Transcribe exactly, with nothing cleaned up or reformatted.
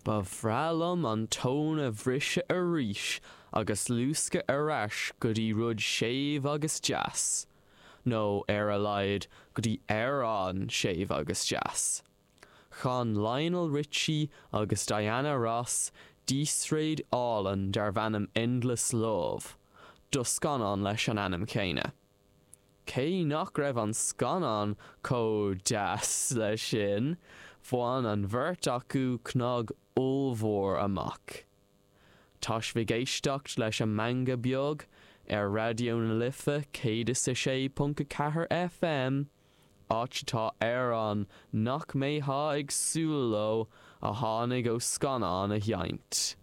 Ba bhreá liom an tón a bhriseadh arís agus luascadh ar ais go dtí rud séimh agus deas. Nó, ar a laghad, go dtí amhrán séimh agus deas. Chan Lionel Richie agus Diana Ross dísréad álainn darbh ainm Endless Love, do scannán leis an ainm chéanna. Cé nach raibh an scannán chomh deas leis sin, bhain an bheirt acu cnag ollmhór amach. Tá sibh ag éisteacht leis an Meangadh Beag ar Raidió na Life céad is a sé ponc a ceathair FM, áit atá amhráin nach mbeifeá ag súil leo a tháinig ó scannán a sheinnt.